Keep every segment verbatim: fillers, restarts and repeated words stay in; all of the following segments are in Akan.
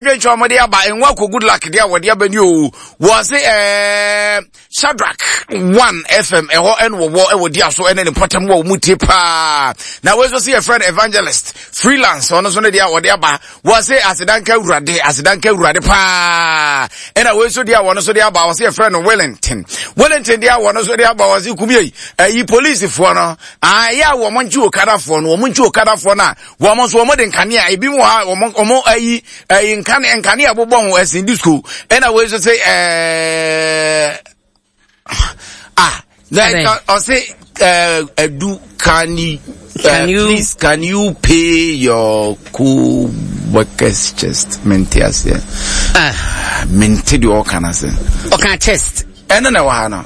Dwentwa wɔde aba nwa kɔ Good Luck deɛ a wɔde aba ni o. Wɔse ɛɛ Shadrack one F M ɛhɔ ɛna wɔwɔ ɛwɔ di aso ɛne ne mpɔtam wɔ wɔn tie paa. Na wɔn nso se yɛfrɛ no Evangelist Freelance, ɔno nso ne deɛ a wɔde aba, wɔse asedanka Awurade, asedanka Awurade paa. Ɛna wɔn nso deɛ a wɔn nso de aba, wɔse yɛfrɛ no Wellington Wellington deɛ a wɔn nso de aba, wɔse kumie ɛyi polisifoɔ no ayɛ a wɔn nkye okadafoɔ no, wɔn nkye okadafoɔ no a wɔn nso wɔn de nkanea ebi mu ha, wɔn wɔn ayi ɛyi nkanea nkanea bobɔ ho ɛsɛn disco. Ɛna wɔn nso sɛ ɛɛ ah, na ɔse ɛɛ ɛdu can you, uh, Can you- please can you pay your co-workers chest? Mente aseɛ. Ah, mente deɛ ɔka no ase. Ɔka chest. Ɛno na ɛwɔ ha no.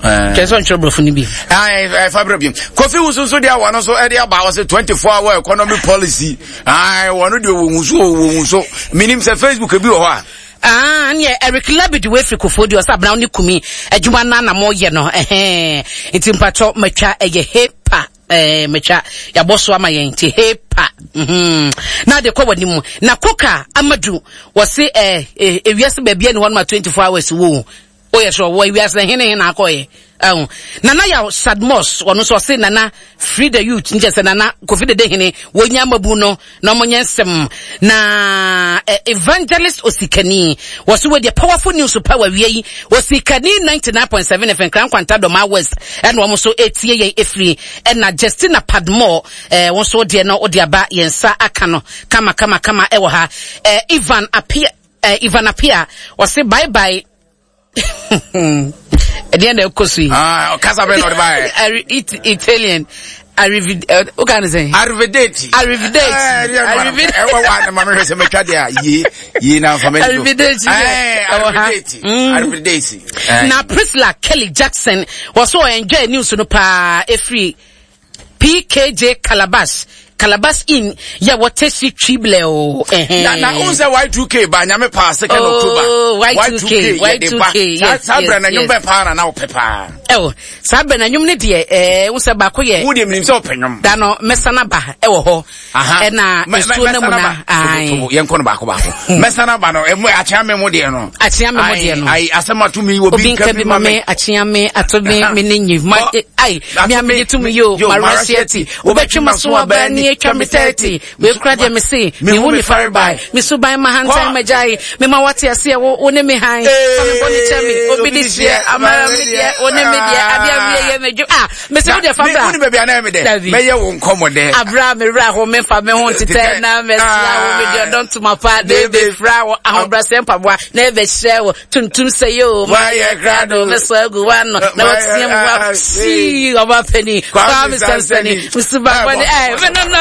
Kyerɛ sɛ ɔntwerɛ borɔfo no bi. Fa berɛ bi Kofi Wusu nso deɛ wɔno nso ɛde aba, wɔ sɛ twenty-four hour economy policy. Wɔno deɛ wɔhu so, wɔhu so. Menim sɛ Facebook bi wɔ hɔ a. Ah, neɛ Eric Labid wefiri Kofoɔ di ɔsɛ abena wo ne kumi adwuma no na moyɛ no ɛhɛn, nti mpatwɔ matwa ɛyɛ hepa ɛɛ matwa yɛabɔ so ama yɛn, nti hepa mhm na de kɔ w'anim. Na Koka Amadu wɔse ɛɛ ɛ ewiase baabi ani hɔ no ma twenty-four hours wo woyɛ sɛ ɔwɔ ewiase na hene hene akɔyɛ ɛho. Nana Yaw Sadmos, ɔno nso ɔse Nana free the youth, nkyɛ sɛ Nana Kofi Dede hene wɔnya mabu no na ɔmonyɛ nsɛm. Na eh, Evangelist Osikani wɔso wɔ deɛ powerful news pa wawie yi. Osikani ninety-nine point seven F M Kran Kwanta Dɔma West ɛna wɔn nso etie yɛn efiri. Ɛna Justina Padmore, ɛɛ wɔn nso deɛ no wɔde aba, yɛn nsa aka no kama kama kama ɛwɔ ha. ɛɛ Ivan Apia, ɛɛ Ivan Apia ɔse bye bye. Ɛdeɛ na ɛkɔ so yi. Ah, ɔkasa bɛn na ɔde baayɛ? Ari- It- Italian Arrivid uh, what kind of thing? Arrivederci. Arrivederci. Arrivederci. Ɛwɔ wa na maame hwɛ sɛ mɛtwa deɛ a yie yie na nfa mɛ. Arrivederci. Ɛɛ arrivederci. Arrivederci. Na Priscilla Kelly Jackson wɔso enjoy news no paa efiri P K J Calabash Calabash in yɛ wɔte si twible o. Na na n sɛ Y two K ba, Nyame paa, second Oh, October. Y two K, yɛde ba. Y two K, yes, saa berɛ na yes, nnwom bɛ paa na na wopɛ paa? Ɛwɔ saa berɛ na nnwom no deɛ, ɛɛ n sɛ baako yɛ. Wo deɛ menim sɛ wopɛ nnwom. Da no mɛsana ba ɛwɔ hɔ. Aha. Ɛna Mɛ- mɛ- nsuo no mu mɛsana na ba. ae. Tobo, yɛnkɔ no baako baako. Mɛsana ba no, ɛmu akyea me mu deɛ no. Akyea me mu deɛ no. Ayi, asɛm ato mi, obi obi nka bi ma me. Akyea me ato me, me ne nyi ma Ɔ- ai ato me a me- megye tom yo. yo, Marasiati wobɛtwe ma so aba ni atwa me thirty wekura deɛ me se mehu ne farebae me so ban ma hantan Kɔ. Magyae mema wate aseɛ, wo wo ne me han fa me bɔne kyɛ me, obi de hyeɛ amara me deɛ, wo ne me deɛ adeɛ awie yɛ medwo ah me sɛ wo deɛ fa bra. Wone baabi a na ɛyɛ me dɛ? Dabi. Mɛyɛ wo nkɔmmɔ dɛ. Abra me wura ho memfa me ho ntetɛ na mɛsra wo, mede ɔdɔ ntoma pa de bɛfira wo ahobrɛsɛ mpaboa na ɛbɛhyɛ wo tuntum sɛ yo. Wayɛ krado. Mɛsɔ agu wano na wateɛ mu wa sii ɔba pani Kwame Sansani mesuba bɔne ɛ me no no.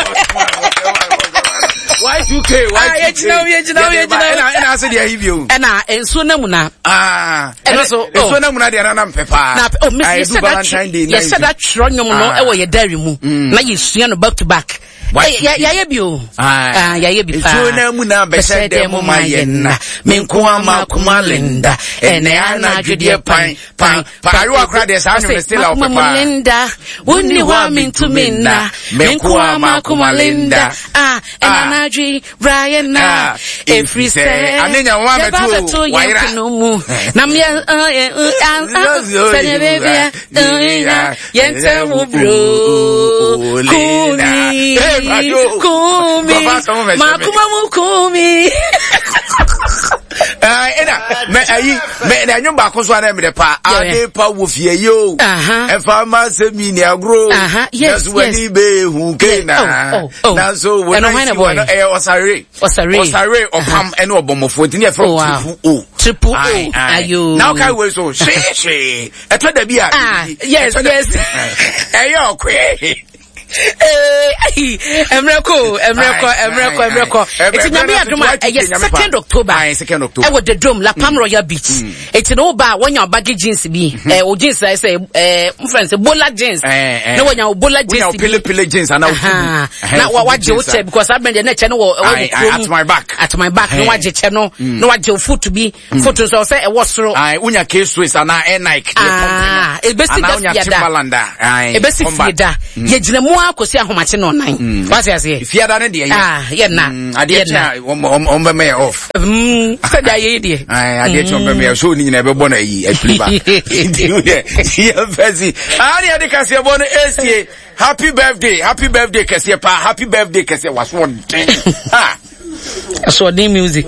Y two K. Ah, Y two K. yɛgyina wo, yɛgyina wo, Yɛde ba. yɛgyina wo. Ɛna ɛna ase deɛ ayi bio. Ɛna nsuo no mu na Ah. Ɛno so, oh. Nsuo no mu na deɛ nana mpɛ paa. Na oh, miss Ah, ɛdu yɛhyɛ da Valentine Day na yɛhyɛ da twerɛ nnwom no Ah. ɛwɔ yɛ diary mu na yɛsua no back to back. Y two K. Ɛ, yɛ- yɛayɛ bi o. Ah. Ah, yɛayɛ bi paa. Nsuo no mu na bɛhyɛ dɛ mu ma yɛ nna. Me nko ama kuma Linda. Ɛnɛ anadwo deɛ pan pan pan. Ayewa kora deɛ saa nnwom no still a wopɛ Makoma mu paa. Linda, wonni hɔ a mentumi nna. Me Me nko nko ama ama kuma kuma Linda. Linda. Ah, ɛna Ah. anadwo yi, bra yɛ nna. Ah, ɛfiri sɛ ane nya wo yɛba abɛto o, bɛto yɛn wayera. pono mu na meɛ sɛdeɛ bebia yɛntɛ wo bro kumi Hey, Bajo. kumi Baba, sɛ wo mɛhyɛ me. makoma mu kumi. Ah, ɛna mɛ ayi mɛ na ɛnwom baako so ana mɛ pa Yeah. ade pa wɔ fie yi o. Aha. Ɛfa ma sɛ mi ni agorɔ. Aha, yes, nanso wani bɛ hu ke na. Oh, oh, oh. Nanso wɔn Ɛno hwan na si bɔɔ wɔn yi? ɛyɛ Ɔsare. Ɔsare. Ɔsare ɔpam ɛne ɔbɔmmɔfoɔ nti ne yɛfrɛ Oh, wow. Triple O. Triple O, Aye, aye. ayo. Na ɔka wei so hwee hwee ɛtɔ da bi a. Ah, yes, ɛtɔ da- yes. Ɛyɛ ɔkoe. Ee, mmerɛ kɔ, mmerɛ kɔ, mmerɛ kɔ, mmerɛ kɔ. Eti Nyame adom a, ɛyɛ second October. Aye, second October. Ɛwɔ the Dome, La Palm Royal Beach. Eti na woba a, wɔnya baggy jeans bi, ɛɛ o jeans ayɛ sɛ ɛɛ n fɛn sɛ bola jeans. Eh, eh. Na wɔnya o bola wonya jeans wo bi. pele pele jeans ana wo Aha. fugu. Na wa wagye wo kyɛ because abɛn deɛ ne kyɛ no wɔ ɛwɔ Aye, wɔ aye, kurom. at my back. At my back na Eh. wagye kyɛ no na wagye wo foot bi, foot nso sɛ ɛwɔ soro. Aye, wonya K Swiss anaa Air Nike deɛ Ah, pɔmpe no. ebesi Anaa da wonya fie da. Timberland a, aye, Ebesi combat. fie da yɛgyina mu akɔsi ahomakye no ɔnan. Mm. Wate aseɛ? Fiada ne deɛ yɛ. Ah, yɛ na. Mm, adeɛ Yɛ na. kyɛ a wɔn wɔn bɛmɛ yɛ off. Mm, sɛdeɛ ayɛ yi deɛ. Ayi adeɛ kyɛ wɔn bɛmɛ yɛ so ne nyinaa ɛbɛbɔ na ayi apiri ba. Nti wo deɛ yɛn fɛ si. Aa ne yɛde kaseɛ bɔ no esie. Happy birthday, happy birthday kɛseɛ paa, happy birthday kɛseɛ waso ɔden. Ah. Asoɔden music.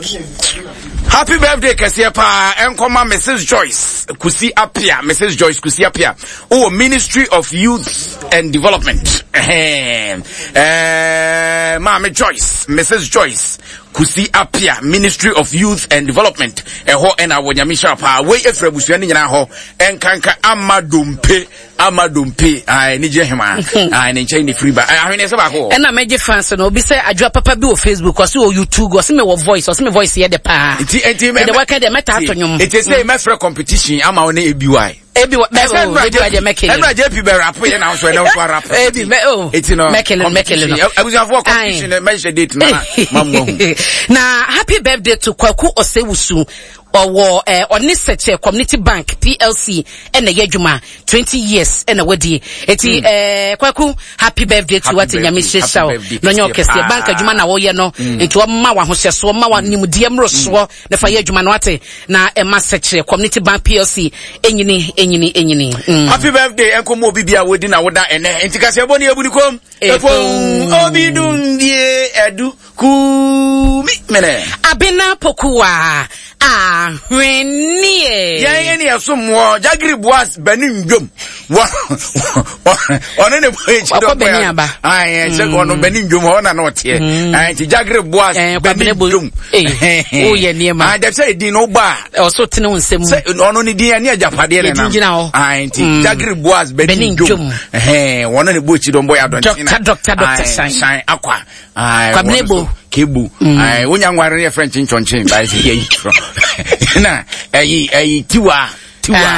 Happy birthday kɛseɛ paa ɛnkɔma Missus Joyce Kusi Apia, Missus Joyce Kusi Apia, wowɔ Ministry of Youth and Development. Ɛhɛn. Ɛɛ, Maame Joyce, Missus Joyce Kusi Apia, Ministry of Youth and Development. Ɛhɔ ɛna wɔ Nyame hyira paa. Wei efiri abusua ne nyinaa hɔ. Ɛnkanka ama dompe, ama dompe, ae ne gye hema, ae ne nkyɛn ne firi ba. Ɛɛ, ahwene sɛ baako wɔ. Ɛna mɛgye fans no, obi sɛ adwoa papa bi wɔ Facebook, ɔse wɔ YouTube, ɔse mewɔ voice, ɔse me voice yɛ de paa. Nti nti mɛ Mede wɔka deɛ mɛta ato nnwom. Nti sɛ mɛfrɛ competition ama wo ne A B Y. Ebi wɔ bɛ o, ebi wɔ deɛ mɛkele. Ɛnura J P bɛ rap yɛ na nso ɛnɛ nso arap. Ebi mɛ o. Eti no mɛkele mɛkele no. Abusuafoɔ competition mɛhyɛ date na ma mu ahu. Na happy birthday to Kwaku Osewusu. Ɔwɔ ɛɛ ɔne Sɛkyɛ Community Bank P L C ɛna ɛyɛ adwuma, twenty years ɛna wadie. Eti ɛɛ Kwaku, happy birthday to wate. Nyame hyehyɛ wo na ɔnyɛ ɔkɛseɛ. Bank adwuma na wɔyɛ no, nti ɔma wa ahohyɛsoɔ, ɔma wa nimdeɛ mmorosoɔ na fa yɛ adwuma no wate, na ɛma Sɛkyɛ Community Bank P L C enyini enyini enyini. Mm. Happy birthday ɛnkɔmɔ obi bi a wodi na woda ɛnɛ. Nti kaseɛ bɔ ne ebudi kom. Efon obi dum bie ɛdu kumi mene. Abena Pokuwa ahwenneɛ. Yɛn ɛne ɛsom wɔ Jagiri Boas bɛni ndwom wɔ ɔno ne bɔ ekyi dɔ. Wakɔ Benin aba. Ayi ɛkyɛ ɔno bɛni ndwom hɔ ɔna na ɔteɛ ayi nti Jagiri Boas bɛni ndwom. Woyɛ nneɛma. Ayi dɛm sɛ edin no ba. Ɔso tene wo nsam. Sɛ ɔno ne din ɛne agyapadeɛ ne nam. Yɛgyinagyina hɔ. Ayi nti Jagiri Boas bɛni ndwom wɔn ne bɔ ekyi dɔ mbɔ yɛ adɔnten. Doctor, Doctor, Doctor Shine. Shine Akwa. Kwabena Ebo. Kebu wonya nware ne yɛ fɛ nkyenkyɔnkyen ba ɛsɛ yɛ yi twerɛ na ɛyi ɛyi Tiwa Tiwa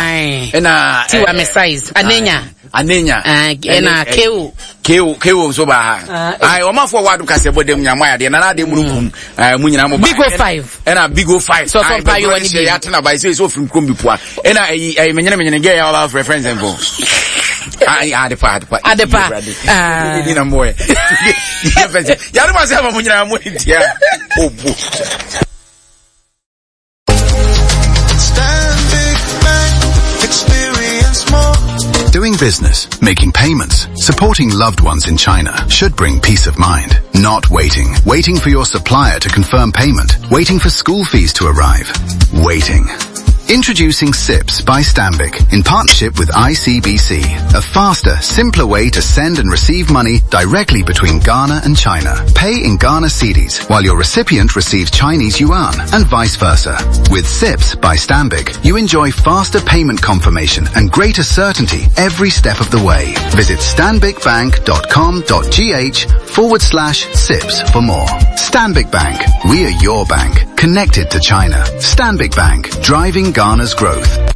ɛna Tiwa me size Anenya. Anenya. Ɛna Keo. Keo Keo nso ba ha. Ayi ɔmanfoɔ wɔ Adum kasɛ bɔ dɛm nyamu ayadeɛ nana adeɛ mu kum ɛɛ mu nyinaa mo ba. Big O five. Ɛna Big O five. Sɔsɔ mpa yi wɔ ni bi. Yɛ atena ba ɛsɛ ɛsɛ ofiri kurom bi pua ɛna ɛyi ɛyi menyene menyene gɛ yɛ ɔba afrɛ fɛn sɛn fo. Ayi adepa adepa. Adepa. Ni na mo yɛ. Yàrá ma sẹ́ ma mo nyinaa mo ntia obo. Stanbic Bank, experience more. Doing business, making payments, supporting loved ones in China should bring peace of mind. Not waiting. Waiting for your supplier to confirm payment. Waiting for school fees to arrive. Waiting. Introducing SIPS by Stanbic in partnership with I C B C. A faster, simpler way to send and receive money directly between Ghana and China. Pay in Ghana cedis while your recipient receives Chinese yuan and vice versa. With SIPS by Stanbic, you enjoy faster payment confirmation and greater certainty every step of the way. Visit stanbicbank dot com dot G H forward slash SIPS for more. Stanbic Bank. We are your bank. Connected to China. Stanbic Bank. Driving Ghana's growth.